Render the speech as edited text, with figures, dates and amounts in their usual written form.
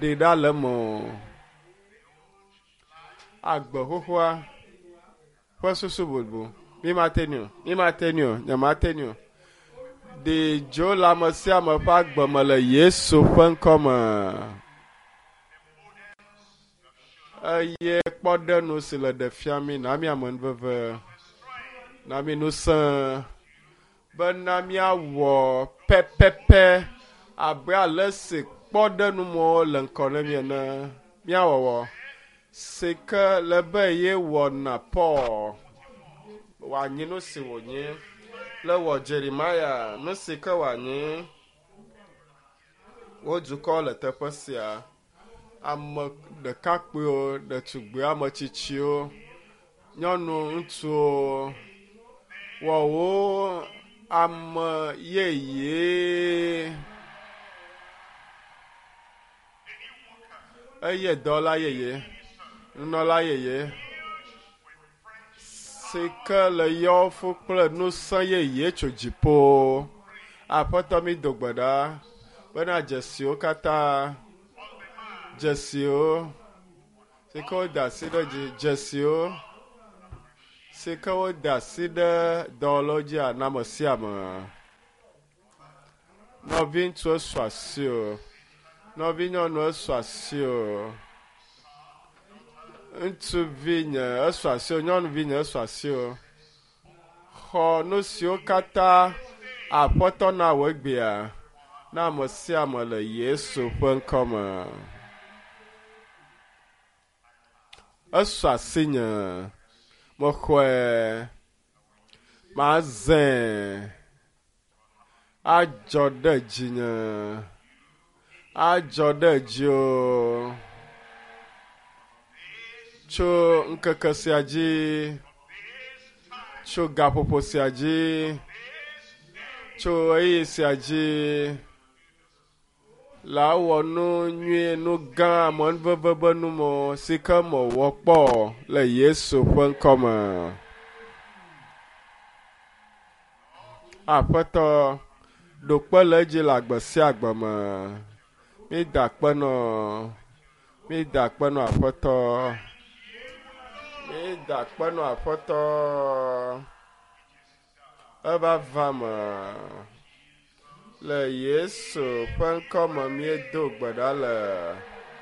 Ɖe ɖa le eme o. Agbe xoxoa ƒe susu bubu. Mi mate ŋui o, mi mate ŋui o, nye mate ŋui o. Ɖe dzo le ame sia ame ƒe agbe me le Yesu ƒe ŋkɔ me. Eye kpɔɖeŋu si le ɖe fia mi na mi amenuveve, na mi ŋusẽ bena míawɔ pɛpɛpɛ abe ale si kpɔɖeŋumɔwo le ŋkɔ na mi ene. Míawɔwɔ si ke le be ye wɔna Paul wòanyi nu si wònyi, le wɔ Jeremiah nu si ke wòanyi. Wo dukɔ le teƒe sia. Ame ɖekakpuiwo, ɖetugbiwo, ame tsitsiwo, nyɔnu, ŋutsuwo, wɔ wo ame yeye. Eye dɔwɔla yeye, nunɔla yeye si ke le yɔwo fu kple ŋusẽ yeye tso dziƒo. Aƒetɔ mi do gbe ɖa bena dzesiwo katã, dzesiwo si ke woda asi ɖe dzi, dzesiwo si ke woda asi ɖe dɔwɔlawo dzi ana ame sia ame. Nɔviŋutsu esu asi o, nɔvinyɔnu esu asi o, ŋutsuvi nye esu asi o, nyɔnuvi nye esu asi o. Xɔ nu siwo katã Aƒetɔ na wò egbea na ame sia ame le Yesu ƒe ŋkɔ me. Esu asinye, mexɔe, mazãe, adzɔ ɖe dzinye, adzɔ ɖe dziwò tso ŋkeke sia dzi, tso gaƒoƒo sia dzi, tso ɣeyiɣi sia dzi. La wɔ nu nyui, nu gã, amenuveve be numɔ si ke mewɔ kpɔ le Yesu ƒe ŋkɔ me. Aƒetɔ, ɖo kpe le edzi le agbe sia agbe me. Mída akpe nɔ, mída akpe nɔ Aƒetɔ. Mída akpe nɔ Aƒetɔ. Eva va me. Le Yesu ƒe ŋkɔ me míedo gbe ɖa le.